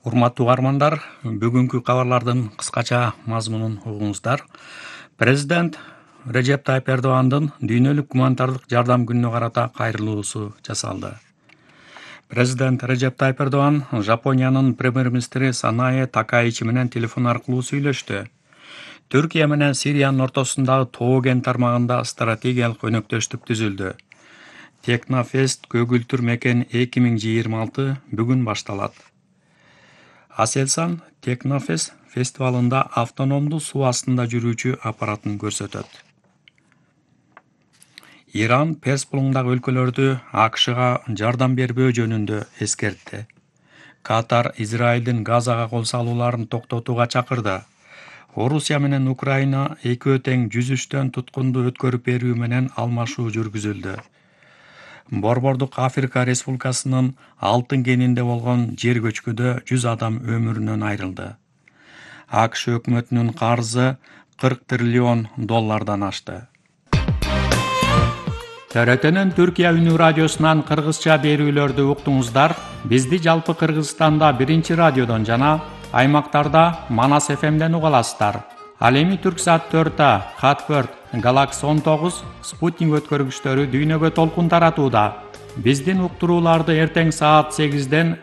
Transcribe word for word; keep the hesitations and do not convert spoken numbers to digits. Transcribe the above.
Урматтуу угармандар, бүгүнкү кабарлардын кыскача мазмунун угуңуздар. Президент Режеп Тайып Эрдогандын дүйнөлүк гуманитардык жардам күнүнө карата кайрылуусу жасалды. Президент Режеп Тайып Эрдоган Жапониянын премьер-министри Санае Такаичи менен телефон аркылуу сүйлөштү. Түркия менен Сириянын ортосундагы Тоо-Ген тармагында стратегиялык өнөктөштүк түзүлдү. Технофест көгүлтүр мекен эки миң жыйырма алты бүгүн башталат. Аселсан Технофест фестивалында автономдуу суу астында жүрүүчү аппаратын көрсөтөт. Иран Перс булуңундагы өлкөлөрдү АКШга жардам бербөө жөнүндө эскертти. Катар Израилдин Газага кол салууларын токтотууга чакырды. Орусия менен Украина экөө тең жүзүштөн туткунду өткөрүп берүү менен алмашуу жүргүзүлдү. Борбордук Африка Республикасынын Алтын кенинде болгон жер көчкүдө жүз адам өмүрүнөн айрылды. АКШ өкмөтүнүн карзы кырк триллион доллардан ашты. Төрөтөнүн Түркия үнү радиосунан кыргызча берүүлөрдү уктуңуздар. Бизди жалпы Кыргызстанда биринчи радиодон жана аймактарда Манас эф эмден уга аласыздар. Ал эми Түрксат төрт А, Хатбird, Galaxy он тогуз, Спутник өткөргүчтөрү дүйнөгө толкун таратууда. Биздин уктурууларды эртең саат сегизден